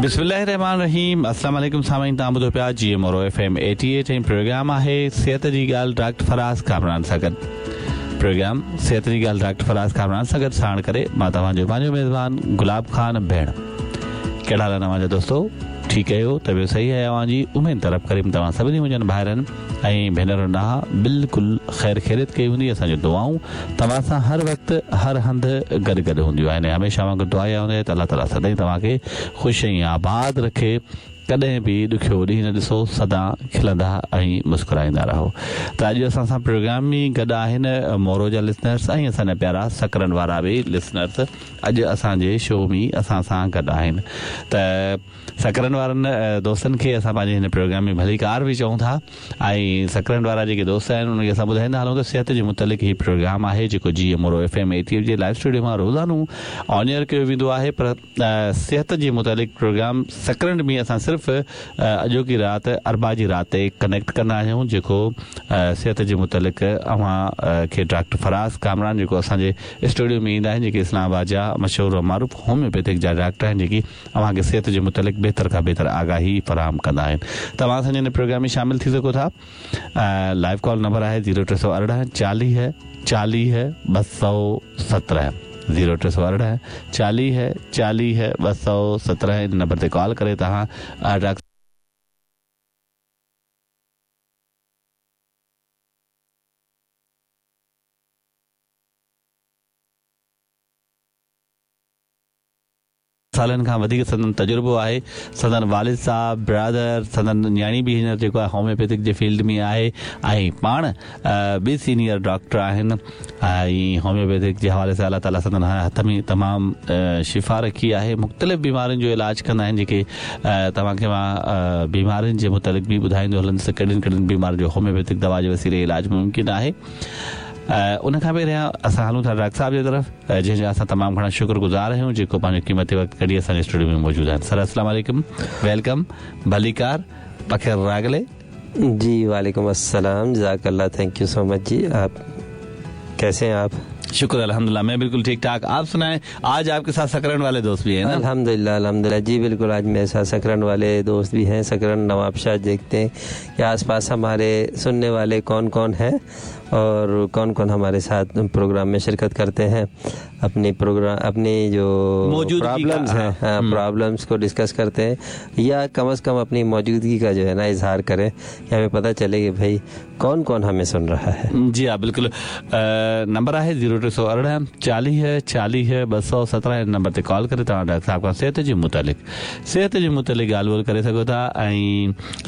بسم الله الرحمٰن الرحيم السلام عليڪم سامعين توهان ٻڌو پيا جيئي مورو ايف ايم 88 ۽ پروگرام آهي صحت جي ڳالهه ڊاڪٽر فراز ڪامران سان گڏ پروگرام صحت جي ڳالهه ڊاڪٽر فراز ڪامران سان گڏ ساڻ ڪري مان توهان جو پنهنجو ميزبان گلاب خان ڀيڻ ڪهڙا حال آهن اوهان جا دوستو ٺيڪ آهيو طبيعت صحيح آهي اوهان جي اميد ته رب ڪريم توهان سڀني منهنجن ڀائرن ۽ ڀينرن ڏانهن بلڪل خير خيريت ڪئي هوندي اسان جون دعائون توهان سان هر وقت هر هنڌ گڏ گڏ هونديون آهن ۽ هميشه اوهان کي دعا اها هوندي آهي ته الله تعالي سدائين توهان کي خوش ۽ آباد رکي ڪڏهن به ڏکيو ڏينهن نه ڏسو سدا کلندا ۽ مسڪرائيندا رهو ته اڄ اسان سان پروگرام ۾ گڏ آهن مورو جا لسنرس ۽ اسان جا پيارا سڪرنڊ وارا به لسنرس اڄ اسان جي شو ۾ اسان سان گڏ آهن ته سڪرنڊ وارن دوستن کي اسان پنهنجي هن پروگرام ۾ ڀليڪار به چئون ٿا ۽ سڪرنڊ وارا جيڪي دوست آهن انهن کي اسان ٻڌائيندا هلون ته صحت جي متعلق هي پروگرام آهي جيڪو جيئي Moro F M eighty eight جي لائيو اسٽوڊيو مان روزانو آن ايئر ڪيو ويندو آهي پر صحت جي متعلق پروگرام سڪرنڊ ۾ اسان صرف اڄوڪي رات اربع جي رات تي ڪنيڪٽ ڪندا آهيون جيڪو صحت جي متعلق اوهان کي ڊاڪٽر فراز ڪامران جيڪو اسان جي اسٽوڊيو ۾ ايندا آهن جيڪي اسلام آباد جا مشهور و معروف هوميوپيٿڪ جا ڊاڪٽر آهن جيڪي اوهان کي صحت جي متعلق بهتر کان بهتر آگاهي فراهم ڪندا آهن. توهان اسان جي هن پروگرام ۾ شامل ٿي سگهو ٿا. لائيو ڪال نمبر آهي زيرو 318 40 40 217 زيرو 318 40 40 217 ان نمبر تي ڪال ڪري توهان ڊاڪٽر سالن کان وڌيڪ سندن تجربو آهي. سندن والد صاحب، برادر، سندن نياڻي به هينئر جيڪو آهي هوميوپيٿڪ جي فيلڊ ۾ آهي ۽ پاڻ به سينيئر ڊاڪٽر آهن ۽ هوميوپيٿڪ جي حوالي سان الله تعالي سندن هٿ ۾ تمام شفا رکي آهي مختلف بيمارين جو علاج ڪندا آهن جيڪي توهان کي مان بيمارين جي متعلق به ٻڌائيندو هلندس ته ڪهڙين ڪهڙين بيمارين جو هوميوپيٿڪ دوا جي وسيلي علاج ممڪن آهي. ان کان پهريان اسان هلون ٿا ڊاڪٽر صاحب جي طرف جنهن جا اسان تمام گهڻا شڪر گذار آهيون جيڪو پنهنجو قيمتي وقت ڪڍي اسان جي اسٽوڊيو ۾ موجود آهن سر السلام عليڪم welcome ڀليڪار پخير راغلي. جي وعليڪم السلام جزاڪ الله thank you so much جي آپ ڪيسي هين آپ. شڪر الحمدلله مين بلڪل ٺيڪ ٺاڪ آپ سنائين آج آپ ڪي ساٿ سڪرنڊ والي دوست ڀي هين نا. الحمدلله الحمدلله جي بلڪل آج ميري ساٿ سڪرنڊ والي دوست ڀي هين سڪرنڊ نواب شاهه ديکتي هين ڪي آس پاس هماري سنني والي ڪون ڪون هين اور ڪون ڪون هماري ساٿ پروگرام ۾ شرڪت ڪرتي هين اپني پروگرام اپني جو پرابلمز هين هان پرابلمز ڪو ڊسڪس ڪرتي هين يا ڪم از ڪم اپني موجودگي ڪا جو هي نا اظهار ڪرين ڪي همين پتا چلي ڪي ڀئي ڪون ڪون همين سن رها هي. جي ها بلڪل نمبر آهي زيرو 318 40 40 217 ان نمبر تي ڪال ڪري توهان ڊاڪٽر صاحب کان صحت جي متعلق صحت جي متعلق ڳالهه ٻولهه ڪري سگهو ٿا ۽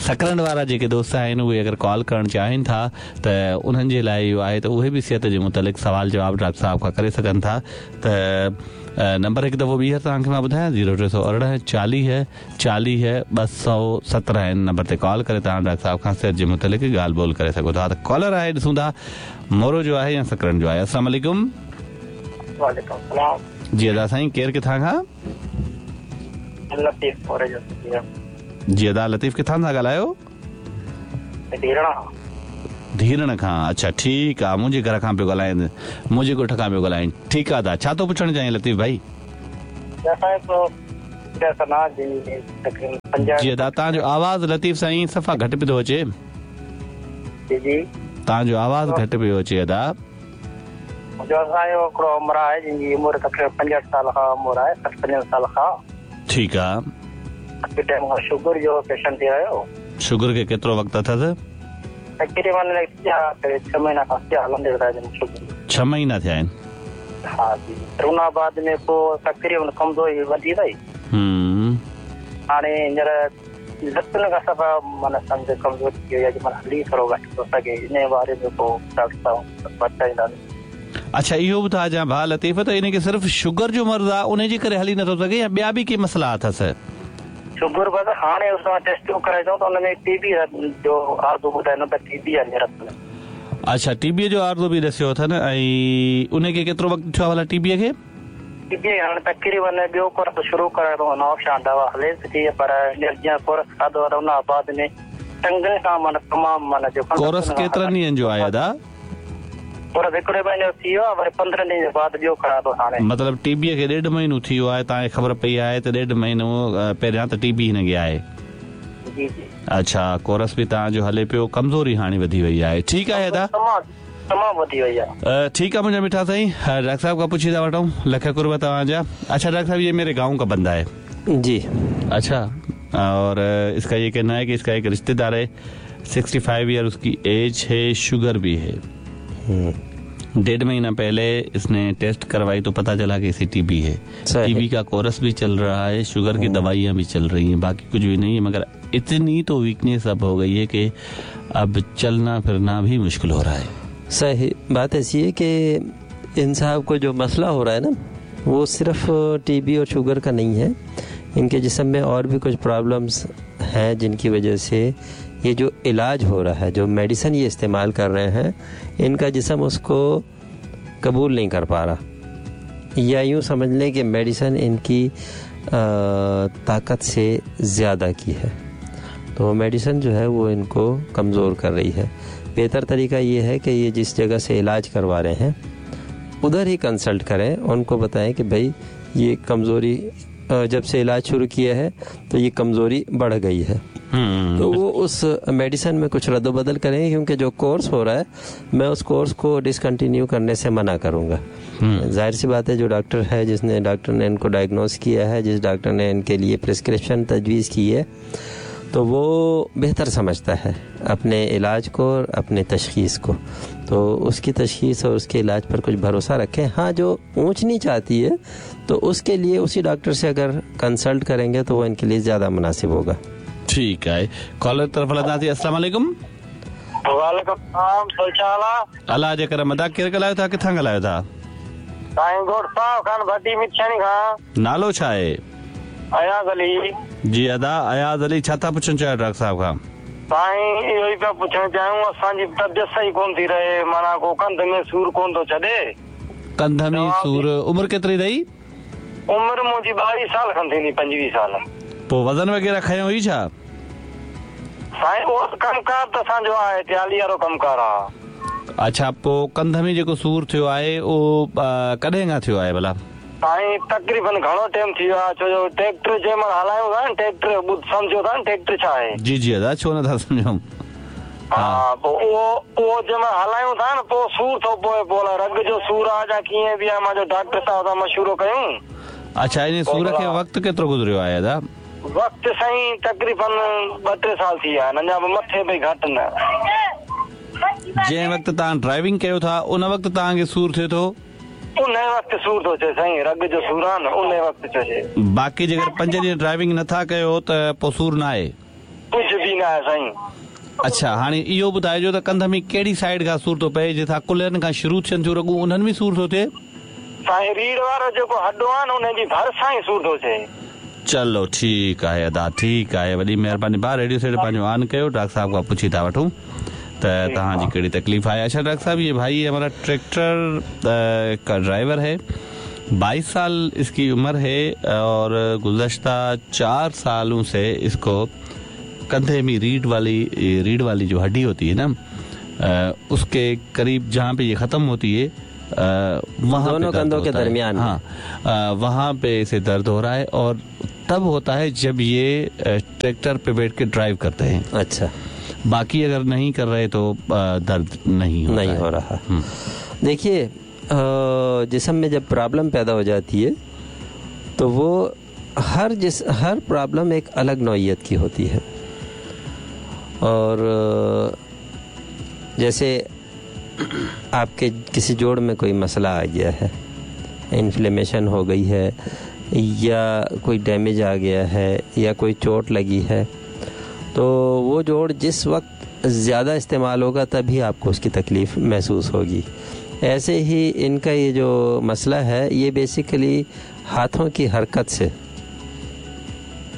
سڪرنڊ وارا جيڪي دوست آهن اهي اگر ڪال ڪرڻ چاهين ٿا ته انهن جي لاء اهو آهي ته اهي به صحت جي متعلق سوال جواب ڊاڪٽر صاحب کان ڪري سگهن ٿا ته نمبر هڪ دفعو ٻيهر توهان کي مان ٻڌايان زيرو 318 40 40 217 ان نمبر تي ڪال ڪري توهان ڊاڪٽر صاحب کان صحت جي متعلق ڳالهه ٻولهه ڪري سگهو ٿا ته ڪالر آهي ڏسون ٿا مورو جو آهي يا سڪرنڊ جو آهي السلام عليڪم. وعليڪم السلام. جي ادا سائين ڪير ڪٿان کان؟ لطيف موري جو. جي ادا لطيف ڪٿان ٿا ڳالهايو؟ ڌيرڻ کان. ڌيرڻ کان اڇا ٺيڪ آ منهنجي گهر کان پيو ڳالهائين منهنجي ڳوٺ کان پيو ڳالهائين ٺيڪ آ ادا ڇا ٿو پڇڻ چاهين لطيف ڀائي. جي ادا توهان جو آواز لطيف سائين صفا گهٽ پيو ٿو اچي. جي جي. توهان جو آواز گهٽ پيو اچي ادا. جو اسان جو هڪڙو همراهه آهي جنهن جي عمر تقريبن 65 سال کان عمر آهي 60 65 سال کان. ٺيڪ آ. ڪافي ٽائيم کان شگر جو پيشنٽ ٿي رهيو. شگر کي ڪيترو وقت اٿس؟ تقريبن ڇهه مهينا کان ٿيا هلندي شگر. ڇهه مهينا ٿيا آهن. ها جي ان بعد ۾ پوء تقريبن ڪمزوري وڌي وئي. هاڻي هينئر لتن کان صفا معنيٰ سمجهه ڪمزوري ٿي وئي آهي معنيٰ هلي ٿورو گهٽ ٿو سگهي ان باري ۾ ڪو ڊاڪٽر صاحب بتائيندا. اڇا اهو ٻڌائجان ڀاء لطيف ته ان کي صرف شگر جو مرض آ انهي جي ڪري هلي نٿو سگهي يا ٻيا به ڪي مسئلا اٿس؟ شگر بس هاڻي اسان ٽيسٽون ڪرائي اٿئون ته ان ۾ ٽي بي جو عارضو ٻڌائين ته ٽي بي آهي هينئر رت ۾. اڇا ٽي بي جو عارضو به ڏسيو اٿن ۽ انهي کي ڪيترو وقت ٿيو آ ڀلا ٽي بي کي؟ ٽي بي هاڻي تقريبن ٻيو ڪورس شروع ڪرايو اٿئون نوابشاهه دوا هليس ٿي پر هينئر جيئن ڪورس کاڌو آ ته ان بعد ۾ ٽنگن کان معنيٰ تمام معنيٰ جيڪو ڪورس ڪيترن ڏينهن جو آهي ادا؟ पर हिकिड़े महीनो थी वियो आहे, वरी 15 ॾींहं बाद ॿियो खणां थो हाणे। मतिलबु टीबीअ खे 1.5 महीनो थी वियो आहे, तव्हांखे ख़बर पई आहे त 1.5 महीनो पहिरियां त टीबी हिन खे आहे। जी जी। अच्छा, कोरस बि तव्हांजो हले पियो, कमज़ोरी हाणे वधी वई आहे। ठीकु आहे अदा, तमामु वधी वई आहे। ठीकु आहे मुंहिंजा मिठा साईं, डॉक्टर साहब खां पुछी था वठूं। लख कुर्ब तव्हांजा। अच्छा डॉक्टर साहब, ये मेरे गांव का बंदा है। जी। अच्छा, और इसका ये कहना है कि इसका एक रिश्तेदार है, 65 ईयर उसकी एज है, शुगर भी है। 1.5 महीना पहले इसने टेस्ट करवाई तो पता चला कि इसे टीबी है। टीबी का कोर्स भी चल रहा है, शुगर की दवाइयाँ भी चल रही हैं, बाकी कुछ भी नहीं है, मगर इतनी तो वीकनेस अब हो गई है कि अब चलना फिरना भी मुश्किल हो रहा है। सही बात ऐसी है कि इन साहब को जो मसला हो रहा है ना, वो सिर्फ टीबी और शुगर का नहीं है, इनके जिस्म में और भी कुछ प्रॉब्लम्स हैं जिनकी वजह से ये जो इलाज हो रहा है, जो मेडिसिन ये इस्तेमाल कर रहे हैं, इनका जिस्म उसको कबूल नहीं कर पा रहा, या यूँ समझ लें कि मेडिसिन इनकी ताकत से ज़्यादा की है, तो मेडिसिन जो है वो इनको कमज़ोर कर रही है। बेहतर तरीका ये है कि ये जिस जगह से इलाज करवा रहे हैं उधर ही कंसल्ट करें, उनको बताएं कि भाई ये कमज़ोरी जब से इलाज शुरू किया है तो ये कमज़ोरी बढ़ गई है, तो वो उस मेडिसिन में कुछ रद्दबदल करेंगे, क्योंकि जो कोर्स हो रहा है मैं उस कोर्स को डिसकंटिन्यू करने से मना करूँगा। जाहिर सी बात है, जो डॉक्टर है, जिसने डॉक्टर ने इनको डायग्नोस किया है, जिस डॉक्टर ने इनके लिए प्रिस्क्रिप्शन तजवीज़ की है, तो वो बेहतर समझता है अपने इलाज को और अपने तशख़ीस को, तो उसकी तशख़ीस और उसके इलाज पर कुछ भरोसा रखें। हाँ, जो ऊँच नीच आती है तो उसके लिए उसी डॉक्टर से अगर कंसल्ट करेंगे तो वो इनके लिए ज़्यादा मुनासिब होगा। ठीक है, कॉलर तरफ़ हलंदासीं। अस्सलाम वालेकुम। वालेकुम सलाम। अलाह जे करम। अदा केरु ॻाल्हायो था, किथां ॻाल्हायो था? साईं गोठ साहब खान भट्टी मिछाणी खां। नालो छा आहे? अयाज़ अली। जी अदा, अयाज़ अली, छा था पुछणु चाहियो डॉक्टर साहब खां? साईं इहो ई पिया पुछणु चाहियूं, असांजी तबियत सही कोन थी रहे, माना को कंध में सूर कोन थो छॾे। कंध में सूर। उमिरि केतिरी अथई? उमिरि मुंहिंजी 22 साल खनि थींदी, 25 साल। पोइ वज़न वग़ैरह खयो हुई छा? साईं उहो कमकार त असांजो आहे, ट्याली वारो कमकार आहे। अच्छा, पोइ कंध में जेको सूर थियो आहे उहो कॾहिं खां थियो आहे भला? साईं तक़रीबन घणो टाइम थी वियो आहे, छो जो ट्रैक्टर जंहिं महिल हलायूं था न, ट्रैक्टर सम्झो था न ट्रैक्टर छा आहे? जी जी अदा, छो नथा सम्झूं। हा, पोइ उहो जंहिं महिल हलायूं था न, पोइ सूर थो पवे, पोइ रग जो सूर आहे या कीअं बि आहे, मुंहिंजो डॉक्टर साहब सां मशवरो कयूं। अच्छा, इन सूर खे वक़्तु केतिरो गुज़रियो आहे अदा? वक़्तु साईं तक़रीबन 2-3 साल थी विया आहिनि, अञा बि मथे पई घटि न। जंहिं वक़्तु तव्हां ड्राइविंग कयो था उन वक़्तु तव्हांखे सूर थिए थो? उन वक़्तु सूर थो थिए साईं, रग जो सूर आहे न, उन वक़्तु थो थिए। बाक़ी जेकर 5 ॾींहं ड्राइविंग नथा कयो त पोइ सूर न आहे? कुझु बि न आहे साईं। अच्छा, हाणे इहो ॿुधाइजो त कंध में कहिड़ी साइड खां सूर थो पए? जिथां कुल्हनि खां शुरू थियनि थियूं रगूं, उन्हनि में सूर थो थिए? साईं रीढ़ वारो जेको हॾो आहे न, उनजी भरिसां ई सूर थो थिए। चलो ठीकु आहे अदा, ठीकु आहे, वॾी महिरबानी भाउ। रेडियो सेट पंहिंजो ऑन कयो, डॉक्टर साहब खां पुछी था वठूं त तव्हांजी कहिड़ी तकलीफ़ आहे। अच्छा डॉक्टर साहब, ये भाई हमारा ट्रैक्टर का ड्राइवर है, 22 साल इसकी उम्र है और गुज़श्ता 4 सालों से इसको कंधे में रीढ़ वाली जो हड्डी होती है ना, उसके करीब जहाँ पे ये ख़त्म होती है, वहाँ दोनों कंधों के दरमियान, हाँ, वहाँ पे इसे दर्द हो रहा है और तब होता है जब ये ट्रैक्टर पे बैठ के ड्राइव करते हैं। अच्छा, बाकी अगर नहीं कर रहे तो दर्द नहीं होता नहीं हो रहा। देखिए, जिस्म में जब प्रॉब्लम पैदा हो जाती है तो वो हर प्रॉब्लम एक अलग नौइयत की होती है। और जैसे आपके किसी जोड़ में कोई मसला आ गया है, इन्फ्लेमेशन हो गई है या कोई डैमेज आ गया है या कोई चोट लगी है, तो वो जोड़ जिस वक्त ज़्यादा इस्तेमाल होगा तभी आपको उसकी तकलीफ़ महसूस होगी। ऐसे ही इनका ये जो मसला है, ये बेसिकली हाथों की हरकत से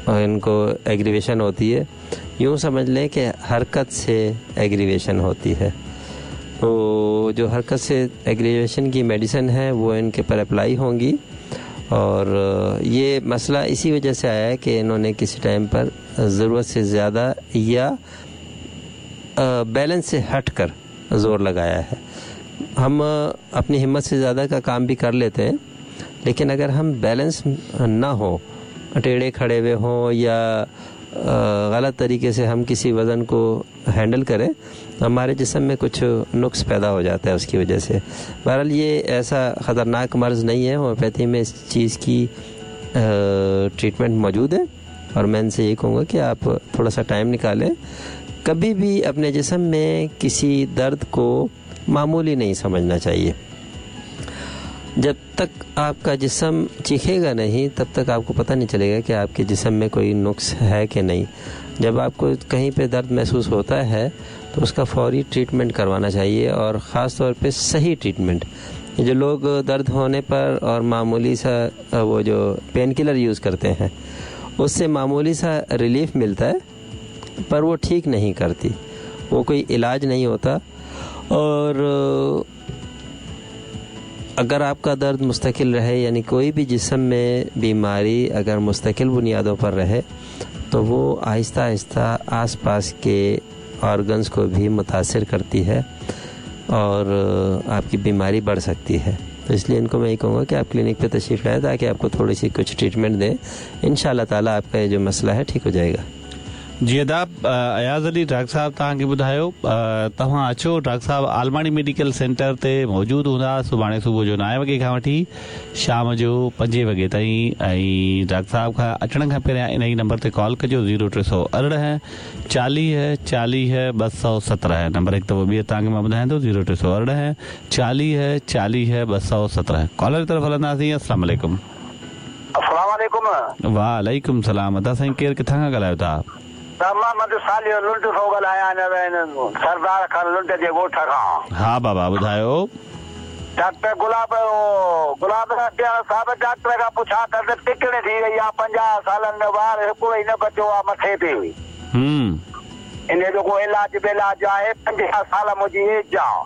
इनको एग्रीवेशन होती है। यूँ समझ लें कि हरकत से एग्रीवेशन होती है। तो जो हरकत से एग्रीवेशन की मेडिसिन है वो इनके पर अप्लाई होंगी। और ये मसला इसी वजह से आया है कि इन्होंने किसी टाइम पर ज़रूरत से ज़्यादा या बैलेंस से हट कर ज़ोर लगाया है। हम अपनी हिम्मत से ज़्यादा का काम भी कर लेते हैं, लेकिन अगर हम बैलेंस ना हो, टेढ़े खड़े हुए हों या गलत तरीके से हम किसी वज़न को हैंडल करें, तो हमारे जिस्म में कुछ नुक्स पैदा हो जाता है उसकी वजह से। बहरहाल ये ऐसा ख़तरनाक मर्ज़ नहीं है, होम्योपैथी में इस चीज़ की ट्रीटमेंट मौजूद है। और मैं इनसे ये कहूँगा कि आप थोड़ा सा टाइम निकालें, कभी भी अपने जिस्म में किसी दर्द को मामूली नहीं समझना चाहिए। जब तक आपका जिस्म चीखेगा नहीं तब तक आपको पता नहीं चलेगा कि आपके जिस्म में कोई नुक्स है कि नहीं। जब आपको कहीं पे दर्द महसूस होता है तो उसका फौरी ट्रीटमेंट करवाना चाहिए, और ख़ास तौर पे सही ट्रीटमेंट। जो लोग दर्द होने पर और मामूली सा वो जो पेन किलर यूज़ करते हैं, उससे मामूली सा रिलीफ मिलता है, पर वो ठीक नहीं करती, वो कोई इलाज नहीं होता। और अगर आपका दर्द मुस्तकिल रहे, यानी कोई भी जिस्म में बीमारी अगर मुस्तकिल बुनियादों पर रहे, तो वो आहिस्ता आहिस्ता आसपास के ऑर्गन्स को भी मुतासिर करती है और आपकी बीमारी बढ़ सकती है। तो इसलिए इनको मैं ये कहूँगा कि आप क्लिनिक पे तशरीफ़ लाएँ ताकि आपको थोड़ी सी कुछ ट्रीटमेंट दें, इंशाअल्लाह ताला आपका ये जो मसला है ठीक हो जाएगा। जी आदाब, अयाज़ अली डॉक्टर साहब तव्हांखे ॿुधायो, तव्हां अचो, डॉक्टर साहब आलमाणी मेडिकल सेंटर ते मौजूदु हूंदा सुभाणे सुबुह जो 9 वॻे खां वठी शाम जो 5 वॻे ताईं। ऐं डॉक्टर साहब खां अचण खां पहिरियां इन ई नंबर ते कॉल कजो 0318 40 40 217। नंबर हिकु दफ़ो ॿीहर तव्हांखे मां ॿुधायां थो, 0318 40 40 217। कॉलर तरफ़ हलंदासीं। अस्सलाम वालेकुम। अस्सलाम वालेकुम। वालेकुम सलाम। अदा साईं, केरु किथां खां ॻाल्हायो था? मोहम्मद सालियो लुंड थो ॻाल्हायां, सरदार खान लुंड जे ॻोठ खां। हा बाबा ॿुधायो। डॉक्टर गुलाब गुलाब साहब, डॉक्टर खां पुछा कर त टिकण थी वई आहे 50 सालनि में, वार हिकिड़ो ई न बचियो आहे मथे ते। इन जो को इलाज बिलाज आहे? 50 साल मुंहिंजी एज आहे,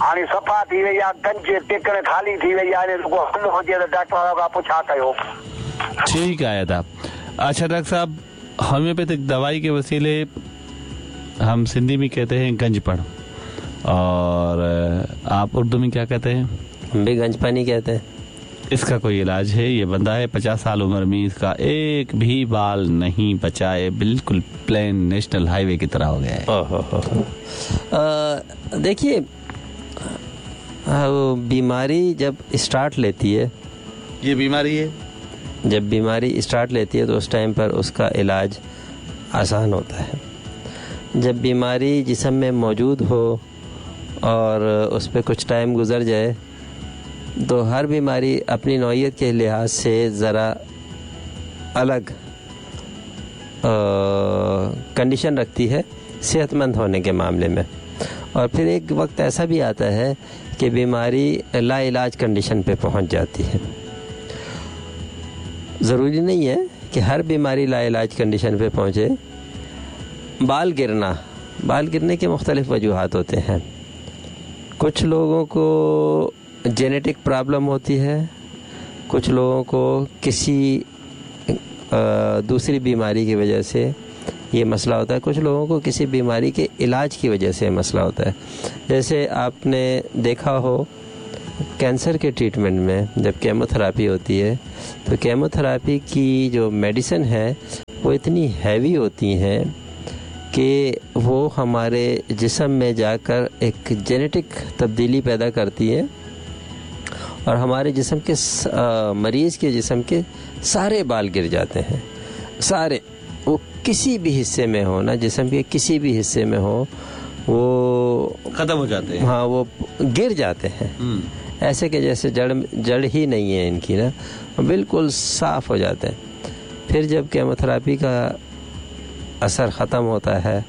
हाणे सफ़ा थी वई आहे, गंज टिकण खाली थी वई आहे। इन जो को हल हुजे त डॉक्टर खां पुछा कयो। ठीक आहे अदा। अच्छा डॉक्टर साहब, होम्योपैथिक दवाई के वसीले हम सिंधी में कहते हैं गंजपण, और आप उर्दू में क्या कहते हैं? हम भी गंजपन ही कहते हैं। इसका कोई इलाज है? ये बंदा है 50 साल उम्र में, इसका एक भी बाल नहीं बचा है, बिल्कुल प्लेन नेशनल हाईवे की तरह हो गया है। देखिए, बीमारी जब स्टार्ट लेती है, ये बीमारी है, जब बीमारी स्टार्ट लेती है तो उस टाइम पर उसका इलाज आसान होता है। जब बीमारी जिस्म में मौजूद हो और उस पर कुछ टाइम गुज़र जाए तो हर बीमारी अपनी नौयत के लिहाज से ज़रा अलग कंडीशन रखती है सेहतमंद होने के मामले में। और फिर एक वक्त ऐसा भी आता है कि बीमारी लाइलाज कंडीशन पे पहुंच जाती है। ज़रूरी नहीं है कि हर बीमारी लाइलाज कंडीशन पे पहुंचे। बाल गिरना, बाल गिरने के मुख्तलिफ़ वजूहात होते हैं। कुछ लोगों को जेनेटिक प्रॉब्लम होती है, कुछ लोगों को किसी दूसरी बीमारी की वजह से ये मसला होता है, कुछ लोगों को किसी बीमारी के इलाज की वजह से ये मसला होता है। जैसे आपने देखा हो कैंसर के ट्रीटमेंट में जब केमोथेरापी होती है तो केमोथेरापी की जो मेडिसिन है वो इतनी हैवी होती हैं कि वो हमारे जिस्म में जाकर एक जेनेटिक तब्दीली पैदा करती है और हमारे जिस्म के मरीज़ के जिस्म के सारे बाल गिर जाते हैं, सारे, वो किसी भी हिस्से में हो ना, जिस्म के किसी भी हिस्से में हो वो ख़त्म हो जाते हैं। हाँ, वो गिर जाते हैं ऐसे कि जैसे जड़ ही नहीं है इनकी ना, बिल्कुल साफ़ हो जाते हैं। फिर जब केमोथेरापी का असर ख़त्म होता है,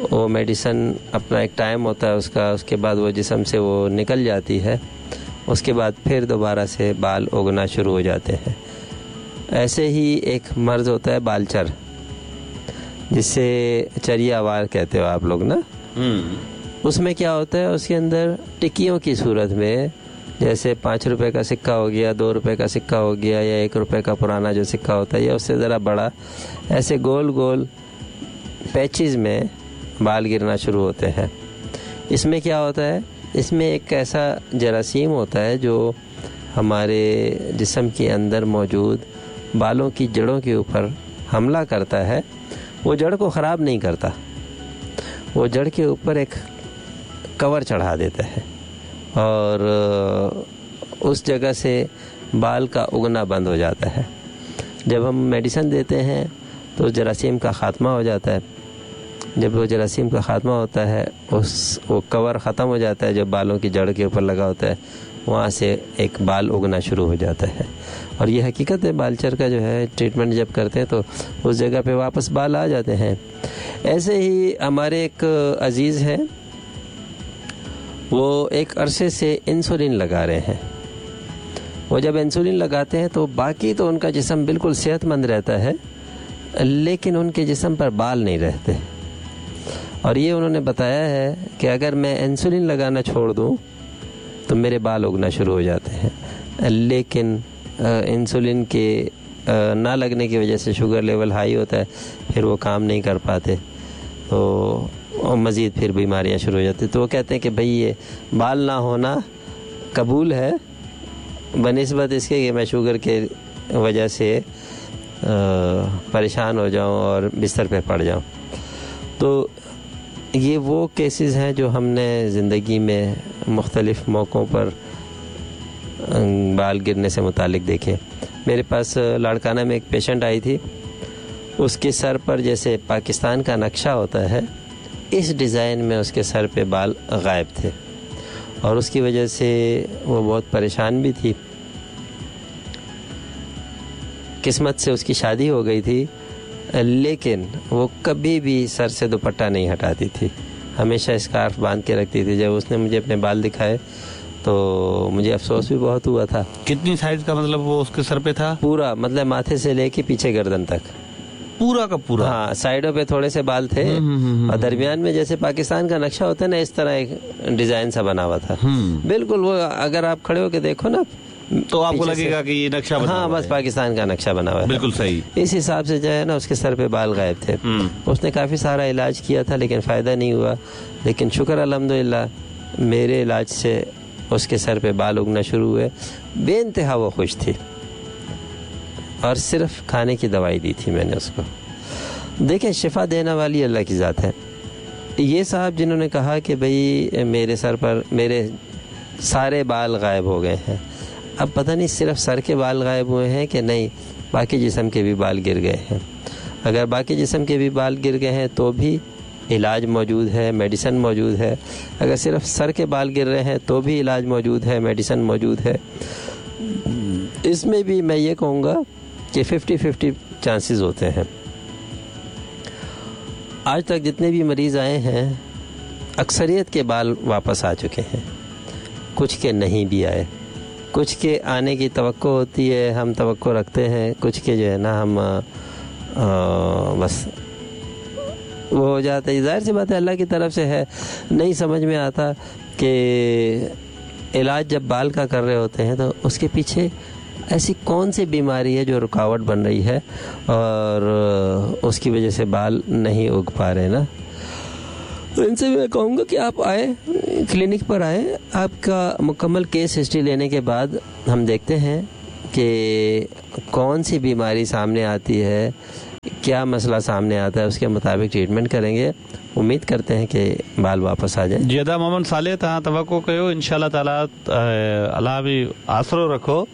वो मेडिसन अपना एक टाइम होता है उसका, उसके बाद वो जिस्म से वो निकल जाती है, उसके बाद फिर दोबारा से बाल उगना शुरू हो जाते हैं। ऐसे ही एक मर्ज़ होता है बालचर, जिसे चरियावार कहते हो आप लोग ना। उसमें क्या होता है, उसके अंदर टिक्कियों की सूरत में, जैसे 5 रुपये का सिक्का हो गया, 2 रुपये का सिक्का हो गया, या 1 रुपये का पुराना जो सिक्का होता है, या उससे ज़रा बड़ा, ऐसे गोल गोल पैचेस में बाल गिरना शुरू होते हैं। इसमें क्या होता है, इसमें एक ऐसा जरासीम होता है जो हमारे जिस्म के अंदर मौजूद बालों की जड़ों के ऊपर हमला करता है। वो जड़ को ख़राब नहीं करता, वो जड़ के ऊपर एक कवर चढ़ा देता है और उस जगह से बाल का उगना बंद हो जाता है। जब हम मेडिसिन देते हैं तो जरासीम का ख़ात्मा हो जाता है। जब वो जरासीम का ख़ात्मा होता है, उस वो कवर ख़त्म हो जाता है जो बालों की जड़ के ऊपर लगा होता है, वहाँ से एक बाल उगना शुरू हो जाता है। और ये हकीकत है, बालचर का जो है ट्रीटमेंट जब करते हैं तो उस जगह पे वापस बाल आ जाते हैं। ऐसे ही हमारे एक अजीज़ हैं, वो एक अरसे से इंसुलिन लगा रहे हैं। वो जब इंसुलिन लगाते हैं तो बाकी तो उनका जिस्म बिल्कुल सेहतमंद रहता है, लेकिन उनके जिस्म पर बाल नहीं रहते। और ये उन्होंने बताया है कि अगर मैं इंसुलिन लगाना छोड़ दूँ तो मेरे बाल उगना शुरू हो जाते हैं, लेकिन इंसुलिन के ना लगने की वजह से शुगर लेवल हाई होता है, फिर वो काम नहीं कर पाते, तो मज़ीद फिर बीमारियां शुरू हो जाती। तो वो कहते हैं कि भाई ये बाल ना होना कबूल है बनिस्बत इसके कि मैं शुगर के वजह से परेशान हो जाऊं और बिस्तर पे पड़ जाऊं। तो ये वो केसेस हैं जो हमने ज़िंदगी में मुख्तलिफ़ मौक़ों पर बाल गिरने से मुतालिक देखे। मेरे पास लाड़काना में एक पेशेंट आई थी, उसके सर पर जैसे पाकिस्तान का नक्शा होता है, इस डिज़ाइन में उसके सर पे बाल गायब थे और उसकी वजह से वो बहुत परेशान भी थी। किस्मत से उसकी शादी हो गई थी, लेकिन वो कभी भी सर से दुपट्टा नहीं हटाती थी, हमेशा स्कार्फ बांध के रखती थी। जब उसने मुझे अपने बाल दिखाए तो मुझे अफसोस भी बहुत हुआ था। कितनी साइज का मतलब वो उसके सर पे था? पूरा, मतलब माथे से लेके पीछे गर्दन तक पूरा का पूरा। हाँ, साइडों पे थोड़े से बाल थे और दरमियान में जैसे पाकिस्तान का नक्शा होता है ना, इस तरह एक डिजाइन सा बना हुआ था। बिल्कुल, वो अगर आप खड़े होके देखो ना तो आपको लगेगा कि ये नक्शा बना, हाँ, बस पाकिस्तान का नक्शा बना हुआ है। बिल्कुल सही। इस हिसाब से जो है ना उसके सर पे बाल गायब थे। उसने काफ़ी सारा इलाज किया था लेकिन फ़ायदा नहीं हुआ, लेकिन शुक्र अल्हम्दुलिल्लाह मेरे इलाज से उसके सर पे बाल उगना शुरू हुए। बेइंतहा वो खुश थी और सिर्फ खाने की दवाई दी थी मैंने उसको। देखें, शिफा देने वाली अल्लाह की ज़ात है। ये साहब जिन्होंने कहा कि भाई मेरे सर पर मेरे सारे बाल गायब हो गए हैं, अब पता नहीं सिर्फ सर के बाल गायब हुए हैं कि नहीं, बाकी जिस्म के भी बाल गिर गए हैं। अगर बाकी जिस्म के भी बाल गिर गए हैं तो भी इलाज मौजूद है, मेडिसिन मौजूद है। अगर सिर्फ सर के बाल गिर रहे हैं तो भी इलाज मौजूद है, मेडिसिन मौजूद है। इसमें भी मैं ये कहूँगा कि 50-50 चांसेस होते हैं। आज तक जितने भी मरीज़ आए हैं अक्सरियत के बाल वापस आ चुके हैं, कुछ के नहीं भी आए। कुछ के आने की तवक्को होती है, हम तवक्को रखते हैं, कुछ के जो है ना हम बस वो हो जाता है। ज़ाहिर सी बात है अल्लाह की तरफ से है, नहीं समझ में आता कि इलाज जब बाल का कर रहे होते हैं तो उसके पीछे ऐसी कौन सी बीमारी है जो रुकावट बन रही है और उसकी वजह से बाल नहीं उग पा रहे ना। तो इनसे मैं कहूँगा कि आप आए, क्लिनिक पर आए, आपका मुकम्मल केस हिस्ट्री लेने के बाद हम देखते हैं कि कौन सी बीमारी सामने आती है, क्या मसला सामने आता है, उसके मुताबिक ट्रीटमेंट करेंगे। उम्मीद करते हैं कि बाल वापस आ जाए। जी अदा मोहम्मद साले, तव्हां तवक्को कयो, इंशाअल्लाह ताला अल्लाह बि आसरो रखो,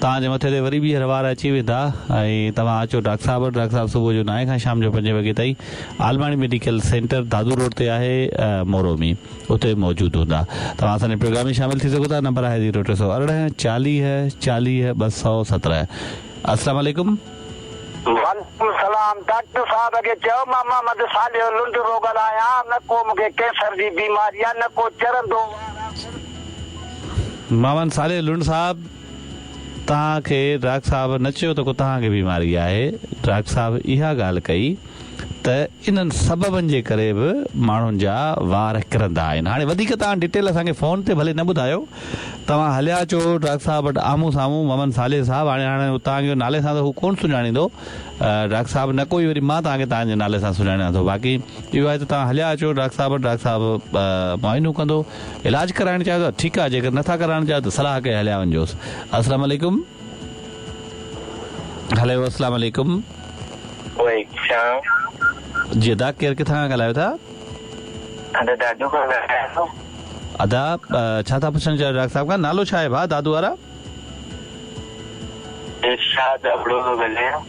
तव्हांजे मथे ते वरी ॿीहर वार अची वेंदा। ऐं तव्हां अचो डॉक्टर साहब वटि। डॉक्टर साहब सुबुह जो 9 खां शाम जो 5 वॻे ताईं आलमाणी मेडिकल सेंटर दादू रोड ते आहे मोरो में, उते मौजूदु हूंदा। तव्हां असांजे प्रोग्राम में शामिल थी सघो था। नंबर आहे 0318 40 40 217। अस्सलाम वालेकुम। वालेकुम सलाम। डॉक्टर साहब खे चयो मां मोहम्मद सालिह लुंड थो ॻाल्हायां, न को मूंखे कैंसर जी बीमारी आहे, न को चरंदो। मोहम्मद सालिह लुंड साहब, तव्हांखे डॉक्टर साहब न चयो त को तव्हांखे बीमारी आहे। डॉक्टर साहब इहा ॻाल्हि कई ته انهن سببن جي ڪري به ماڻهن جا وار ڪرندا آهن. هاڻي وڌيڪ توهان ڊيٽيل اسان کي فون تي ڀلي نه ٻڌايو. توهان هليا اچو ڊاڪٽر صاحب وٽ آمهون سامهون محمد صالح صاحب هاڻي هاڻي توهان کي نالي سان ته هو ڪونه سڃاڻيندو ڊاڪٽر صاحب نه ڪوئي وري مان توهان کي توهان جي نالي سان سڃاڻيان ٿو باقي اهو آهي ته توهان هليا اچو ڊاڪٽر صاحب وٽ ڊاڪٽر صاحب معائنو ڪندو علاج ڪرائڻ چاهيو ٿا ٺيڪ آهي جيڪر نٿا ڪرائڻ چاهيو ته صلاح ڪري هليا وڃجوس. السلام عليڪم. هلو السلام عليڪم. وعليڪم السلام. جي ادا ڪير ڪٿان کان ڳالهايو ٿا؟ ادا دادو کان ڳالهايان ٿو. ادا ڇا ٿا پڇڻ چاهيو ڊاڪٽر صاحب کان نالو ڇا آهي ڀاء دادو وارا؟ ارشاد ابڙو ٿو ڳالهايان.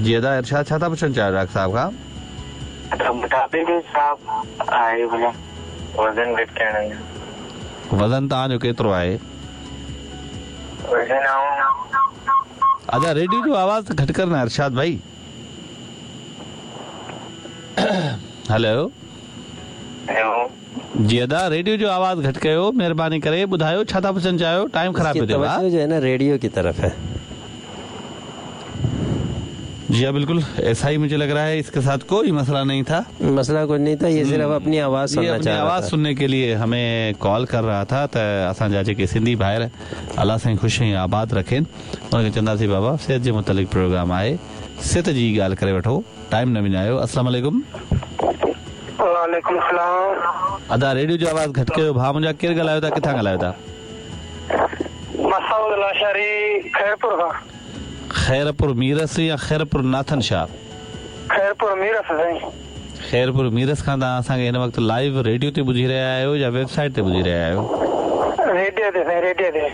جي ادا ارشاد ڇا ٿا پڇڻ چاهيو ڊاڪٽر صاحب کان؟ ادا موٽاپي جو حساب آهي ڀلا وزن گهٽ ڪرڻ جو. وزن توهان جو ڪيترو آهي؟ وزن آئون. ادا ريڊيو جو آواز ته گهٽ ڪر نه ارشاد ڀائي. هلو. هيلو. جي ادا ريڊيو جو آواز گهٽ ڪيو مهرباني ڪري ٻڌايو ڇا ٿا پڇڻ چاهيو ٽائيم خراب پيو ٿئي ڀاء. توجه جو هي نه ريڊيو ڪي طرف هي. जी हाँ बिल्कुल ऐसा ही मुझे लग रहा है इसके साथ कोई मसला नहीं था। मसला कुछ नहीं था, ये सिर्फ अपनी आवाज ये सुनना अपनी चाह रहा आवाज था। सुनने के लिए हमें कॉल कर रहा था। त असांजा जेके सिंधी भाइर अलाह साईं ख़ुशि ऐं आबाद रखनि, उनखे चवंदासीं बाबा सिहत जे मुतालिक़ प्रोग्राम आहे, सिहत जी ॻाल्हि करे वठो, टाइम न विञायो। अस्सलाम वालेकुम। वालेकुम सलाम। अदा रेडियो जो आवाज़ घटि कयो भाउ मुंहिंजा, केरु ॻाल्हायो था, किथां ॻाल्हायो था? मसूद लाशारी खैरपुर खां। खैरपुर मीरस या खैरपुर नाथन शाह? खैरपुर मीरस साईं। खैरपुर मीरस खां तव्हां असांखे हिन वक़्तु लाइव रेडियो ते ॿुधी रहिया आहियो या वेबसाइट ते ॿुधी रहिया आहियो? रेडियो ते साईं, रेडियो ते।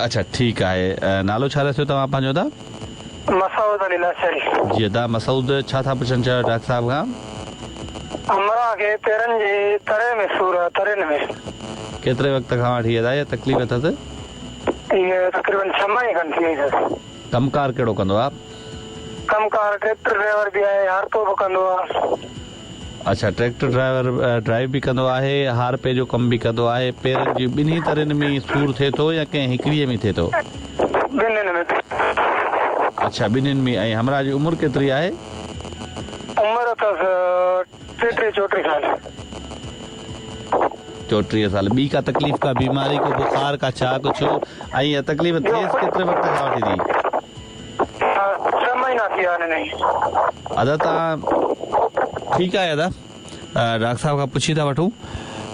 अच्छा ठीकु आहे। नालो छा रखियो तव्हां पंहिंजो अदा? मसूद अली लाशारी। जी अदा मसूद, छा था पुछणु चाहियो डॉक्टर साहब खां? हमरा खे पेरनि जे तरे में सूर आहे, तरनि में। केतिरे वक़्त खां वठी अदा इहा तकलीफ़ अथसि? इहा तक़रीबन 6 महीने खनि थी वई अथसि। कमकार कहिड़ो कंदो आहे? कमकार ट्रैक्टर ड्राइवर बि आहे, हारपो बि कंदो आहे। अच्छा ट्रैक्टर ड्राइवर ड्राइव बि कंदो आहे, हारपे जो कमु बि कंदो आहे। पेरनि जी ॿिन्ही तरनि में सूर थिए थो या कंहिं हिकिड़ीअ में थिए थो? ॿिन्हिनि में। अच्छा ॿिन्हिनि में। ऐं हमरा जी उमिरि केतिरी आहे? उमिरि अथसि 33 34 साल। 34 साल। ॿी का तकलीफ़, का बीमारी, को बुखार, का छा कुझु? ऐं इहा तकलीफ़ थिएसि केतिरे वक़्त खां वठी थी? 6 महीना थी विया आहिनि। अदा तव्हां ठीकु आहे अदा, डॉक्टर साहब खां पुछी था वठूं।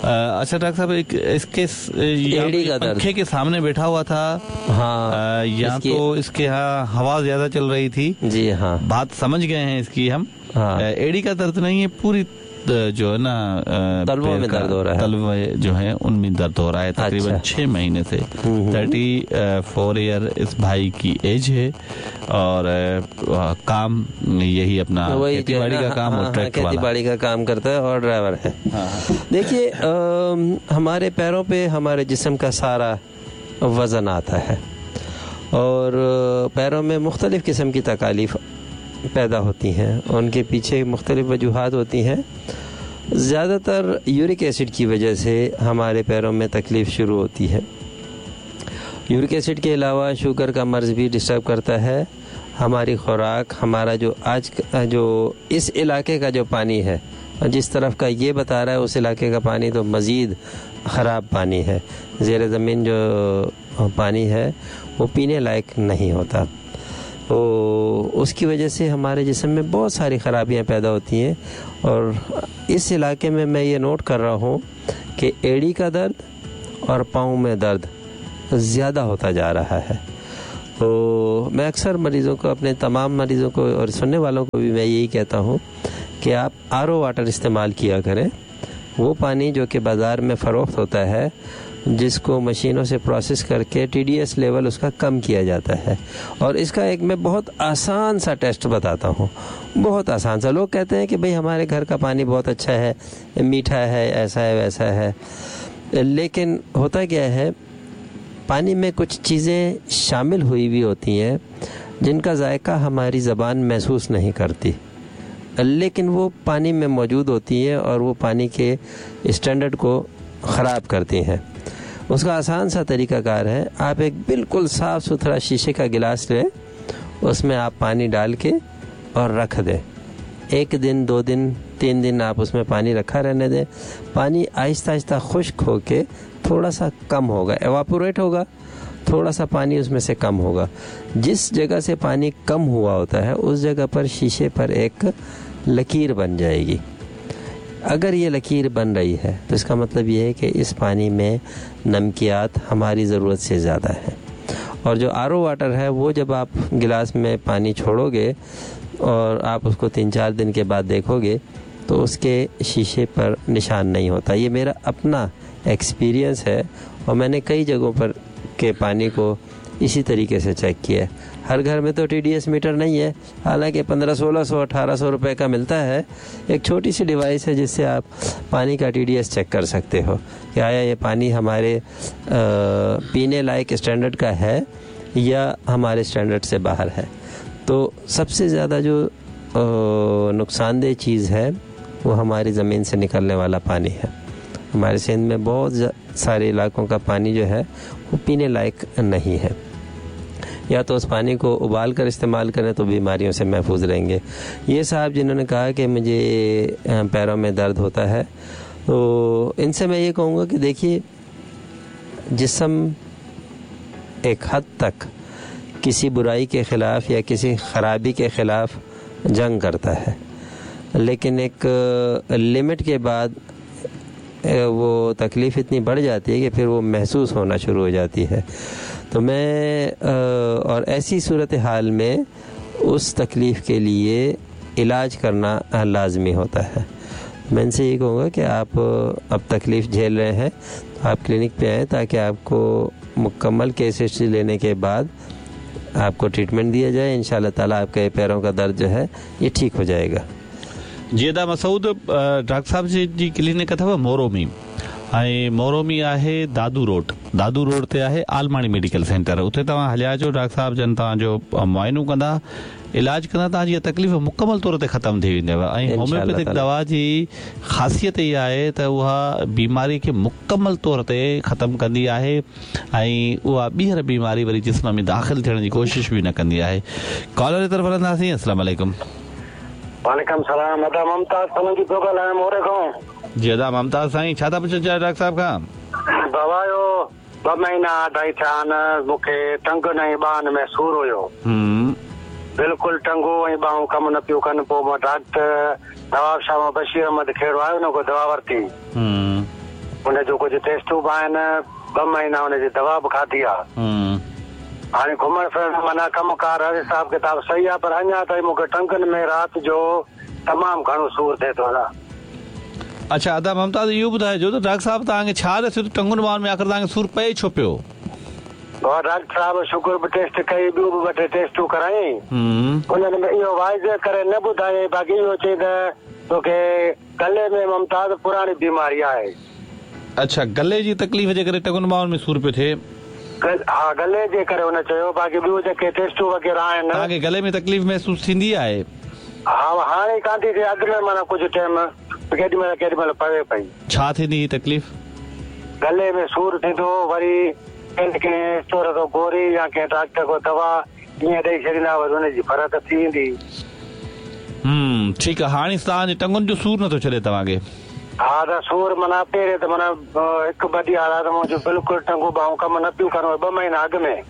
अच्छा डॉक्टर साहब, एक इसके एड़ी का दर्द। पंखे के सामने बैठा हुआ था। हाँ, या तो इसके यहाँ हवा ज्यादा चल रही थी। जी हाँ, बात समझ गए हैं इसकी हम। हाँ। एड़ी का दर्द नहीं है, पूरी जो है ना तलवों में दर्द हो रहा है, तलवे जो है उनमें दर्द हो रहा है तकरीबन 6 महीने से। 34 ईयर इस भाई की एज है और काम यही अपना खेती बाड़ी का काम और ट्रैक्टर खेती बाड़ी का काम करता है और ड्राइवर है। देखिए हमारे पैरों पे हमारे जिस्म का सारा वजन आता है और पैरों में मुख्तलिफ़ किस्म की तकालीफ पैदा होती हैं, उनके पीछे मुख्तलिफ़ वजूहात होती हैं। ज़्यादातर यूरिक एसिड की वजह से हमारे पैरों में तकलीफ़ शुरू होती है। यूरिक एसिड के अलावा शुगर का मर्ज़ भी डिस्टर्ब करता है। हमारी खुराक, हमारा जो आज जो इस इलाके का जो पानी है, जिस तरफ का ये बता रहा है उस इलाके का पानी तो मज़ीद ख़राब पानी है। ज़ेर ज़मीन जो पानी है वो पीने लायक नहीं होता, तो उसकी वजह से हमारे जिस्म में बहुत सारी ख़राबियाँ पैदा होती हैं। और इस इलाके में मैं ये नोट कर रहा हूँ कि एड़ी का दर्द और पाँव में दर्द ज़्यादा होता जा रहा है। तो मैं अक्सर मरीज़ों को, अपने तमाम मरीज़ों को और सुनने वालों को भी मैं यही कहता हूँ कि आप आरओ वाटर इस्तेमाल किया करें। वो पानी जो कि बाज़ार में फ़रोख्त होता है, जिसको मशीनों से प्रोसेस करके TDS level उसका कम किया जाता है। और इसका एक मैं बहुत आसान सा टेस्ट बताता हूँ, बहुत आसान सा। लोग कहते हैं कि भाई हमारे घर का पानी बहुत अच्छा है, मीठा है, ऐसा है वैसा है, लेकिन होता क्या है, पानी में कुछ चीज़ें शामिल हुई भी होती हैं जिनका जायका हमारी ज़बान महसूस नहीं करती, लेकिन वो पानी में मौजूद होती हैं और वो पानी के स्टैंडर्ड को ख़राब करती हैं। उसका आसान सा तरीक़ाकार है, आप एक बिल्कुल साफ़ सुथरा शीशे का गिलास लें, उसमें आप पानी डाल के और रख दें। एक दिन, 2 दिन, 3 दिन आप उसमें पानी रखा रहने दें। पानी आहिस्ता आहिस्ता खुश्क होके थोड़ा सा कम होगा, एवापोरेट होगा, थोड़ा सा पानी उसमें से कम होगा। जिस जगह से पानी कम हुआ होता है उस जगह पर शीशे पर एक लकीर बन जाएगी। अगर ये लकीर बन रही है तो इसका मतलब ये है कि इस पानी में नमकियात हमारी ज़रूरत से ज़्यादा है। और जो आरओ वाटर है वो जब आप गिलास में पानी छोड़ोगे और आप उसको 3-4 दिन के बाद देखोगे तो उसके शीशे पर निशान नहीं होता। ये मेरा अपना एक्सपीरियंस है और मैंने कई जगहों पर के पानी को इसी तरीके से चेक किया है। हर घर में तो TDS metre नहीं है, हालांकि 1500, 1600, 1800 रुपये का मिलता है। एक छोटी सी डिवाइस है जिससे आप पानी का TDS check कर सकते हो कि आया ये पानी हमारे पीने लायक स्टैंडर्ड का है या हमारे स्टैंडर्ड से बाहर है। तो सबसे ज़्यादा जो नुकसानदेह चीज़ है वो हमारी ज़मीन से निकलने वाला पानी है। हमारे सिंध में बहुत सारे इलाकों का पानी जो है वो पीने लायक नहीं है। या तो उस पानी को उबाल कर इस्तेमाल करें तो बीमारियों से महफूज रहेंगे। ये साहब जिन्होंने कहा कि मुझे पैरों में दर्द होता है, तो इनसे मैं ये कहूँगा कि देखिए, जिस्म एक हद तक किसी बुराई के ख़िलाफ़ या किसी ख़राबी के ख़िलाफ़ जंग करता है, लेकिन एक लिमिट के बाद वो तकलीफ़ इतनी बढ़ जाती है कि फिर वो महसूस होना शुरू हो जाती है। तो मैं और ऐसी सूरत हाल में उस तकलीफ़ के लिए इलाज करना लाज़मी होता है। मैं इनसे ये कहूँगा कि आप अब तकलीफ़ झेल रहे हैं तो आप क्लिनिक पे आएँ ताकि आपको मुकम्मल केस हिस्ट्री लेने के बाद आपको ट्रीटमेंट दिया जाए। इंशाअल्लाह ताला आपके पैरों का दर्द जो है ये ठीक हो जाएगा। जी अदा मसूद, डॉक्टर साहब जी क्लिनिक अथव मोरो में, ऐं मोरो में आहे दादू रोड, दादू रोड ते आहे आलमाणी मेडिकल सेंटर। उते तव्हां हलिया अचो, डॉक्टर साहब जन तव्हांजो मुआइनो कंदा, इलाज कंदा, तव्हांजी तकलीफ़ मुकमल तौर ते ख़तमु थी वेंदव। ऐं होम्योपैथिक दवा जी ख़ासियत इहा आहे त उहा बीमारी खे मुकमल तौर ते ख़तमु कंदी आहे ऐं उहा ॿीहर बीमारी वरी जिस्म में दाख़िल थियण जी कोशिशि बि न कंदी आहे। कॉलर जी तरफ़ हलंदासीं। अस्सलाम वालेकुम। वालेकुम सलाम। अदा मुमताज़ सोलंकी पियो ॻाल्हायां मोरे खां। जी अदा मुमताज़ साईं, छा था पुछणु चाहियो डॉक्टर साहब खां? बाबा जो 2 महीना अढाई थिया आहिनि, मूंखे टंगनि ऐं ॿाहनि में सूर हुयो। बिल्कुलु टंगो ऐं ॿाहूं कमु न पियो कनि। पोइ मां डॉक्टर नवाब शाह मां बशीर अहमद खेड़ो आयो, हुन खां दवा वरिती। हुनजो कुझु टेस्टूं बि आहिनि, 2 महीना हुनजी दवा बि खाधी आहे। हाणे घुमण फिरण माना कमु कार हिसाब किताब सही आहे, पर अञा ताईं मूंखे टंगनि में राति जो तमामु घणो सूर थिए थो। अच्छा अदा ममताज़, इहो ॿुधाइजो त डॉक्टर साहब तव्हांखे छा ॾिसियो त टंगुनि ॿाहनि में आख़िर तव्हांखे सूर पए छो पियो? डॉक्टर साहब शुगर बि टेस्ट कई, ॿियूं बि ॿ टे टेस्टूं कराई, उन्हनि में इहो वाइज़ करे न ॿुधायईं, बाक़ी इहो चई त तोखे गले में ममताज़ पुराणी बीमारी आहे। अच्छा, गले जी तकलीफ़ जे करे टंगुनि ॿाहनि में सूर पियो थिए? हा, गले जे करे हुन चयो। बाक़ी ॿियूं जेके टेस्टूं वग़ैरह आहिनि। तव्हांखे गले में तकलीफ़ महसूसु थींदी आहे? हा, हाणे कान थी थिए, अॻु में माना कुझु टाइम केॾी महिल केॾी महिल पवे पई। छा थींदी ही तकलीफ़? गले में सूर थींदो, वरी कंहिं स्टोर तो गोरी या कंहिं डॉक्टर को दवा ईअं ॾेई छॾींदा, वरी हुनजी फ़र्क़ु थी वेंदी। ठीकु आहे। हाणे तव्हांजे टंगुनि जो सूर नथो छॾे तव्हांखे? हा, त सूर माना पहिरियों त माना हिकु ॿ ॾींहं आया त मुंहिंजो बिल्कुलु टंगूं ॿाहूं कमु न पियूं करणु, 2 महीना अॻु में।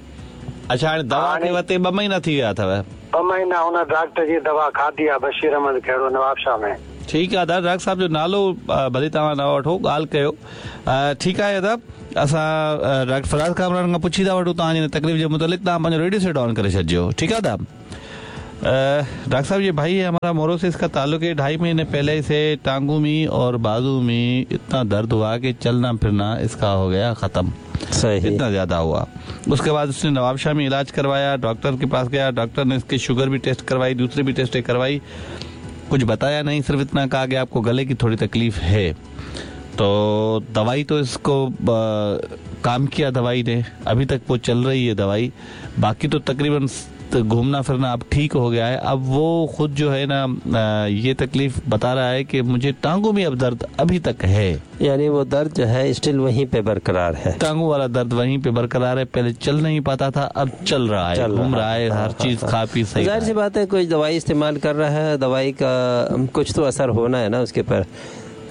अच्छा, हाणे दवा खे वरिते 2 महीना थी विया अथव? 2 महीना हुन डॉक्टर जी दवा खाधी आहे, बशीर अहमद खेड़ो नवाब शाह में। ठीकु आहे अदा, डॉक्टर साहब जो नालो भले तव्हां न वठो, ॻाल्हि कयो। ठीकु आहे अदा, असां डॉक्टर फराज़ कामरान खां पुछी था वठूं तव्हांजी तकलीफ़ जे मुतालिक़। तव्हां पंहिंजो रेडियो सेट ऑन करे छॾिजो, ठीकु आहे अदा? डॉक्टर साहब, ये भाई है हमारा मोरो से, इसका ताल्लुक है। 2.5 महीने पहले से टांगों में और बाजू में इतना दर्द हुआ कि चलना फिरना इसका हो गया ख़त्म, सही, इतना ज़्यादा हुआ। उसके बाद उसने नवाबशाह में इलाज करवाया, डॉक्टर के पास गया, डॉक्टर ने इसकी शुगर भी टेस्ट करवाई, दूसरी भी टेस्ट करवाई, कुछ बताया नहीं, सिर्फ इतना कहा कि आपको गले की थोड़ी तकलीफ़ है। तो दवाई तो इसको काम किया दवाई ने, अभी तक वो चल रही है दवाई, बाकी तो तकरीबन तो घूमना फिरना अब ठीक हो गया है। अब वो खुद जो है ना ये तकलीफ बता रहा है कि मुझे टांगों में अब दर्द अभी तक है, यानी वो दर्द जो है स्टिल वहीं पे बरकरार है, टांगों वाला दर्द वहीं पे बरकरार है। पहले चल नहीं पाता था, अब चल रहा है, घूम रहा है, हर चीज खा पी सही। जाहिर सी बात है कोई दवाई इस्तेमाल कर रहा है, दवाई का कुछ तो असर होना है ना उसके पर,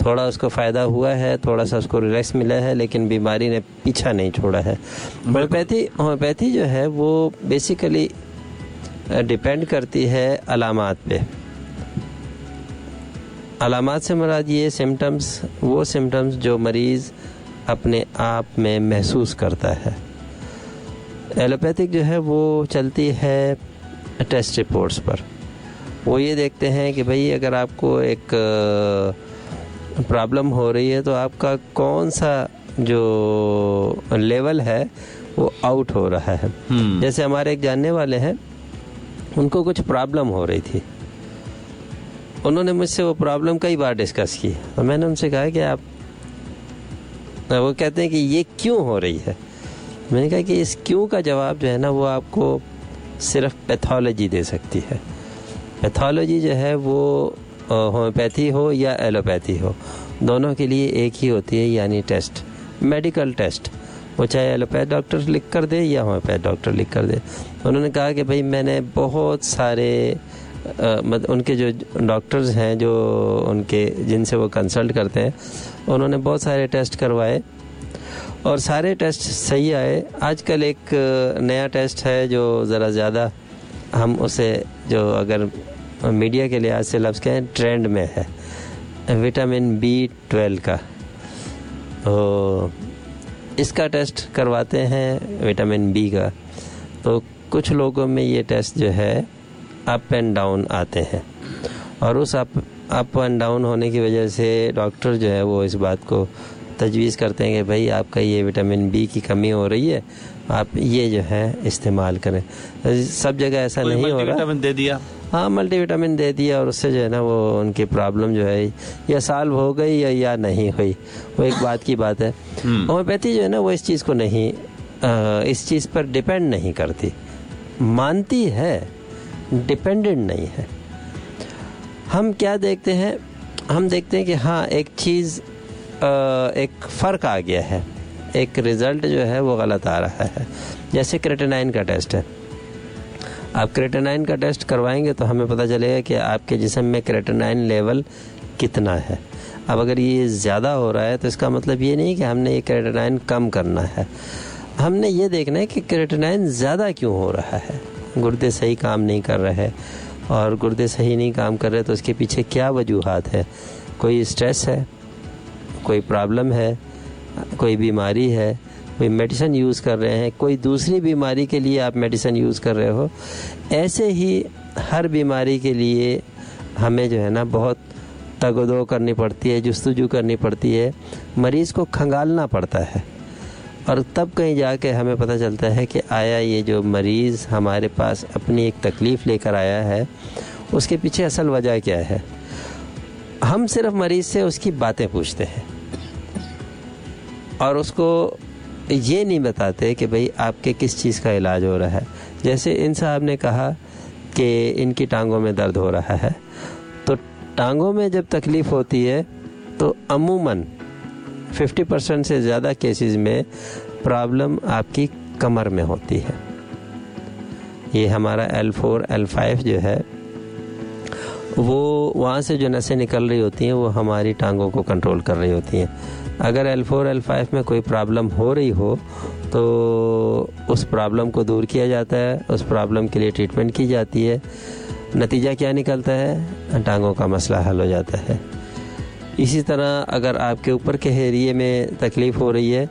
थोड़ा उसको फ़ायदा हुआ है, थोड़ा सा उसको रिलैक्स मिला है, लेकिन बीमारी ने पीछा नहीं छोड़ा है। होम्योपैथी जो है वो बेसिकली डिपेंड करती है अलामात पे। अलामात से मुराद ये सिम्टम्स, वो सिम्टम्स जो मरीज़ अपने आप में महसूस करता है। एलोपैथिक जो है वो चलती है टेस्ट रिपोर्ट्स पर। वो ये देखते हैं कि भाई अगर आपको एक प्रॉब्लम हो रही है तो आपका कौन सा जो लेवल है वो आउट हो रहा है। जैसे हमारे एक जानने वाले हैं, उनको कुछ प्रॉब्लम हो रही थी, उन्होंने मुझसे वो प्रॉब्लम कई बार डिस्कस की और मैंने उनसे कहा कि आप, वो कहते हैं कि ये क्यों हो रही है, मैंने कहा कि इस क्यों का जवाब जो है ना वो आपको सिर्फ पैथोलॉजी दे सकती है। पैथोलॉजी जो है वो होम्योपैथी हो या एलोपैथी हो, दोनों के लिए एक ही होती है, यानी टेस्ट, मेडिकल टेस्ट, वो चाहे एलोपैथ डॉक्टर लिख कर दे या होम्योपैथ डॉक्टर लिख कर दे। उन्होंने कहा कि भाई मैंने बहुत सारे मतलब उनके जो डॉक्टर्स हैं जो उनके जिनसे वो कंसल्ट करते हैं, उन्होंने बहुत सारे टेस्ट करवाए और सारे टेस्ट सही आए। आजकल एक नया टेस्ट है जो ज़रा ज़्यादा हम उसे जो अगर मीडिया के लिहाज से लफ्ज़ कहें ट्रेंड में है, विटामिन B12 का। तो इसका टेस्ट करवाते हैं विटामिन बी का, तो कुछ लोगों में ये टेस्ट जो है अप एंड डाउन आते हैं और उस अप एंड डाउन होने की वजह से डॉक्टर जो है वो इस बात को तजवीज़ करते हैं कि भाई आपका ये विटामिन बी की कमी हो रही है, आप ये जो है इस्तेमाल करें। सब जगह ऐसा नहीं हो रहा। विटामिन दे दिया, हाँ मल्टीविटामिन दे दिया और उससे जो है ना वो उनकी प्रॉब्लम जो है या सॉल्व हो गई या नहीं हुई, वो एक बात की बात है। होम्योपैथी जो है ना वो इस चीज़ को नहीं, इस चीज़ पर डिपेंड नहीं करती, मानती है, डिपेंडेंट नहीं है। हम क्या देखते हैं, हम देखते हैं कि हाँ एक चीज़, एक फ़र्क आ गया है, एक रिज़ल्ट जो है वो गलत आ रहा है। जैसे क्रेटिनाइन का टेस्ट है, आप क्रेटिनाइन का टेस्ट करवाएंगे तो हमें पता चलेगा कि आपके जिस्म में क्रेटिनाइन लेवल कितना है। अब अगर ये ज़्यादा हो रहा है तो इसका मतलब ये नहीं कि हमने ये क्रेटिनाइन कम करना है, हमने ये देखना है कि क्रेटिनाइन ज़्यादा क्यों हो रहा है। गुर्दे सही काम नहीं कर रहे और गुर्दे सही नहीं काम कर रहे तो उसके पीछे क्या वजूहात है, कोई स्ट्रेस है, कोई प्रॉब्लम है, कोई बीमारी है, कोई मेडिसिन यूज़ कर रहे हैं, कोई दूसरी बीमारी के लिए आप मेडिसिन यूज़ कर रहे हो। ऐसे ही हर बीमारी के लिए हमें जो है ना बहुत तगोदो करनी पड़ती है, जुस्तजू करनी पड़ती है, मरीज़ को खंगालना पड़ता है और तब कहीं जाके हमें पता चलता है कि आया ये जो मरीज़ हमारे पास अपनी एक तकलीफ़ लेकर आया है उसके पीछे असल वजह क्या है। हम सिर्फ मरीज़ से उसकी बातें पूछते हैं और उसको ये नहीं बताते कि भाई आपके किस चीज़ का इलाज हो रहा है। जैसे इन साहब ने कहा कि इनकी टांगों में दर्द हो रहा है, तो टांगों में जब तकलीफ़ होती है तो अमूमन 50% से ज़्यादा केसेस में प्रॉब्लम आपकी कमर में होती है। ये हमारा L4 L5 जो है वो वहाँ से जो नसें निकल रही होती हैं वो हमारी टांगों को कंट्रोल कर रही होती हैं। अगर L4 L5 में कोई प्रॉब्लम हो रही हो तो उस प्रॉब्लम को दूर किया जाता है, उस प्रॉब्लम के लिए ट्रीटमेंट की जाती है। नतीजा क्या निकलता है, टांगों का मसला हल हो जाता है। इसी तरह अगर आपके ऊपर के एरिए में तकलीफ़ हो रही है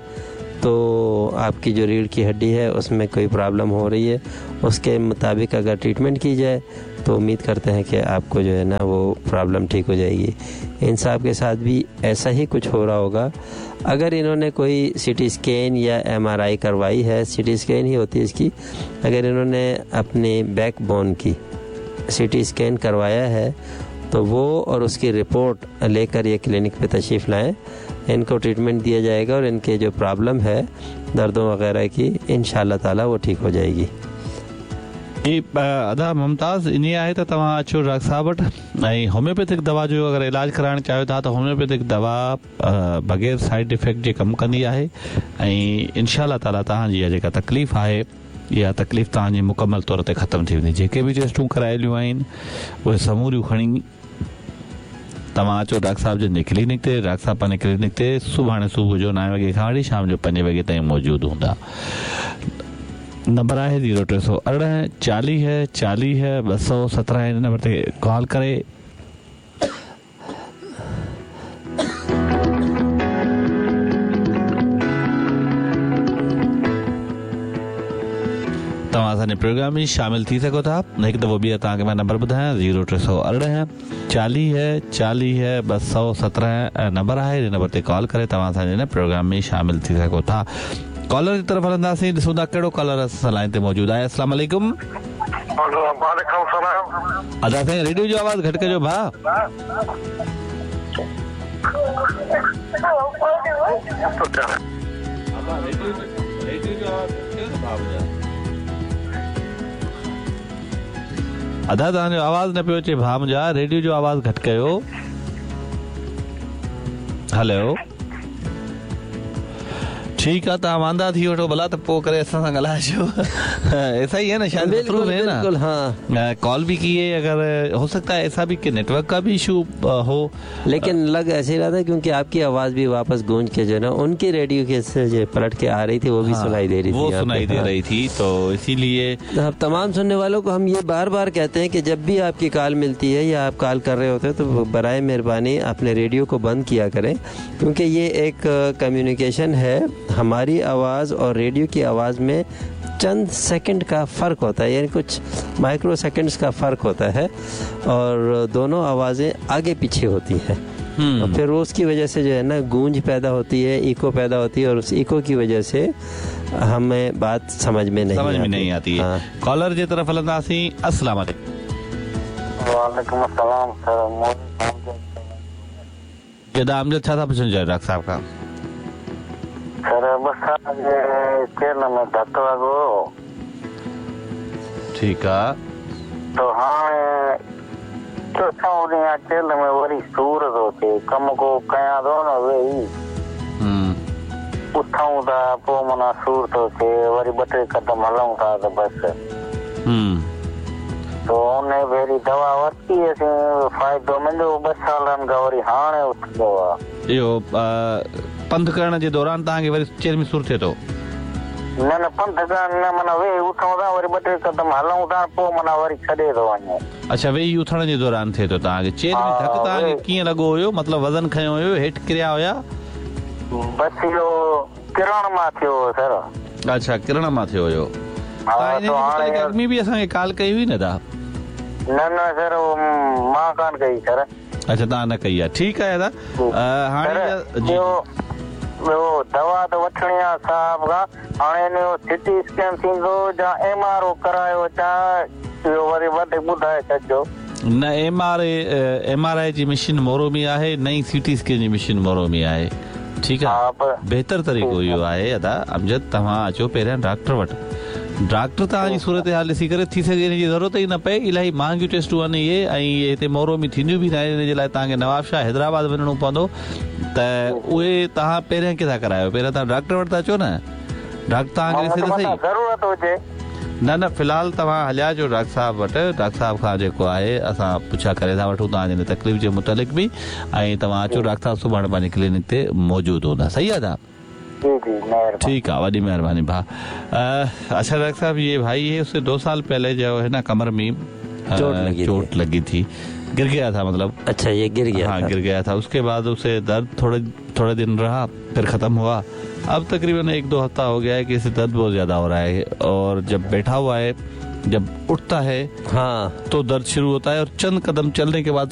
तो आपकी जो रीढ़ की हड्डी है उसमें कोई प्रॉब्लम हो रही है, उसके मुताबिक अगर ट्रीटमेंट की जाए तो उम्मीद करते हैं कि आपको जो है ना वो प्रॉब्लम ठीक हो जाएगी। इन साहब के साथ भी ऐसा ही कुछ हो रहा होगा। अगर इन्होंने कोई सीटी स्कैन या एमआरआई करवाई है, सीटी स्कैन ही होती है इसकी, अगर इन्होंने अपने बैक बोन की सीटी स्कैन करवाया है तो वो और उसकी रिपोर्ट लेकर ये क्लिनिक पे तशरीफ़ लाएँ, इनको ट्रीटमेंट दिया जाएगा और इनके जो प्रॉब्लम है दर्दों वगैरह की इंशाअल्लाह ताला वो ठीक हो जाएगी। जी अदा मुमताज़ इन आहे त तव्हां अचो डॉक्टर साहब वटि ऐं होम्योपैथिक दवा जो अगरि इलाज कराइण चाहियो था त होम्योपैथिक दवा बग़ैर साइड इफ़ेक्ट जे कमु कंदी आहे ऐं इनशा ताला तव्हांजी इहा जेका तकलीफ़ आहे इहा तकलीफ़ तव्हांजी मुकमल तौर ते ख़तमु थी वेंदी। जेके बि टेस्टूं कराइलियूं आहिनि उहे समूरियूं खणी तव्हां अचो डॉक्टर साहब जन जे क्लिनिक ते। डॉक्टर साहब पंहिंजे क्लिनिक ते सुभाणे सुबुह जो 9 वॻे खां वठी शाम जो 5 वॻे ताईं मौजूदु हूंदा। नंबर आहे 0318 40 40 217 हिन नंबर ते कॉल करे तव्हां असांजे प्रोग्राम में शामिल थी सघो था। हिकु दफ़ो ॿीहर तव्हांखे मां नंबर ॿुधायां 0318 40 40 217 नंबर आहे। हिन नंबर ते कॉल करे तव्हां असांजे हिन प्रोग्राम में शामिल थी सघो था। कॉलर जी तरफ़ हलंदासीं, ॾिसूं था कहिड़ो कॉलर असां लाइन ते मौजूदु आहे। अस्सलाम वालेकुम। वालेकुम सलाम। अदा साईं रेडियो जो आवाज़ घटि कजो भाउ। अदा तव्हांजो आवाज़ न पियो अचे भाउ मुंहिंजा, रेडियो जो आवाज़ घटि कयो। हेलो, ठीकु आहे, तव्हां वांदा थी वठो भला त पोइ करे असां सां ॻाल्हाइजो। ऐसा ही है ना, शायद मसरूफ़ है ना। बिल्कुल, हाँ। कॉल भी की है, अगर हो सकता है ऐसा भी कि नेटवर्क का भी इशू हो, लेकिन लग ऐसे ही रहा था क्योंकि आपकी आवाज़ भी वापस गूंज के जो है ना उनकी रेडियो के से जो पलट के आ रही थी वो भी सुनाई दे रही थी, वो सुनाई दे रही थी, तो इसीलिए अब तमाम सुनने वालों को हम ये बार बार कहते हैं कि जब भी आपकी कॉल मिलती है या आप कॉल कर रहे होते हैं तो बराए मेहरबानी अपने रेडियो को बंद किया करें, क्योंकि ये एक कम्युनिकेशन है। हमारी आवाज़ और रेडियो की आवाज़ में चंद सेकंड का फ़र्क होता है, यानी कुछ माइक्रो सेकंड्स का फ़र्क होता है और दोनों आवाज़ें आगे पीछे होती हैं और फिर उसकी वजह से जो है ना गूंज पैदा होती है, इको पैदा होती है और उस इको की वजह से हमें बात समझ में नहीं आती है। कॉलर जे तरफ़ हलंदासीं। अस्सलाम वालेकुम। वालेकुम अस्सलाम सर। जदा अमजद छा था पुछणु चाहियो डॉक्टर साहब खां? सर बस चेल में धक लॻो। ठीकु आहे। तो हाणे चोथों ॾींहुं चेल में वरी सूर थो थिए, कमु को कयां थो न वेही उथऊं था पोइ माना सूर थो थिए, वरी ॿ टे कदम हलूं था त बसि। तो उन भेरी दवा वरिती असीं, फ़ाइदो मिलियो 2 सालनि खां, वरी हाणे उथंदो आहे। इहो पंधु करण जे दौरान तव्हांखे वरी चेल में सूर थिए थो? न न पंधु करण न, माना वेही उथूं था वरी ॿ टे कदम हलूं था पोइ माना वरी छॾे थो वञे। अच्छा, वेही उथण जे दौरान थिए थो तव्हांखे चेल में धक? तव्हांखे कीअं लॻो हुयो, मतिलबु वज़न खयो हुयो, हेठि किरिया हुया? बसि इहो किरण मां थियो हो सर। अच्छा, किरण मां थियो हुयो। अॻु में बि असांखे कॉल कई हुई न तव्हां? न न सर, मां कान कई सर। अच्छा, तव्हां न कई आहे, ठीकु आहे दादा। हाणे ॿियो दवा त वठिणी आहे साहब खां, हाणे इन जो सिटी स्कैन थींदो या एम आर ओ करायो अचां, इहो वरी वधीक ॿुधाए छॾिजो। न, M R I ji machine Moro में आहे, न ई सी टी स्कैन जी मशीन मोरो में आहे। ठीकु आहे, बहितर तरीक़ो इहो आहे अदा अमजद, तव्हां अचो पहिरियां डॉक्टर वटि। डॉक्टर तव्हांजी सूरत हाल ॾिसी करे थी सघे हिन जी ज़रूरत ई न पए। इलाही महांगियूं टेस्टूं आहिनि इहे ऐं इहे हिते मोरो में थींदियूं बि न आहिनि, हिन जे लाइ तव्हांखे नवाबशाह हैदराबाद वञिणो पवंदो। त उहे तव्हां पहिरियां किथां करायो? पहिरियां तव्हां डॉक्टर वटि था अचो न, डॉक्टर तव्हांखे ॾिसे त सही। ज़रूरत हुजे न न, फ़िलहाल तव्हां हलिया अचो डॉक्टर साहब वटि। डॉक्टर साहब खां जेको आहे असां पुछा करे था वठूं तव्हांजी हिन तकलीफ़ जे मुतालिक़ बि, ऐं तव्हां अचो, डॉक्टर साहब सुभाणे पंहिंजे क्लिनिक ते मौजूदु हूंदा। सही आहे दादा? ठीक है, वॾी मेहरबानी भाउ। अच्छा डॉक्टर साहब, ये भाई है, उससे 2 साल पहले जो है ना कमर में चोट लगी थी, गिर गया था मतलब। अच्छा, ये गिर गया? हाँ, गिर गया था। उसके बाद उसे दर्द थोड़े थोड़े दिन रहा, फिर ख़त्म हुआ। अब तकरीबन 1-2 हफ्ता हो गया है कि इसे दर्द बहुत ज़्यादा हो रहा है, और जब बैठा हुआ है, जब उठता है हाँ तो दर्द शुरू होता है, और चंद कदम चलने के बाद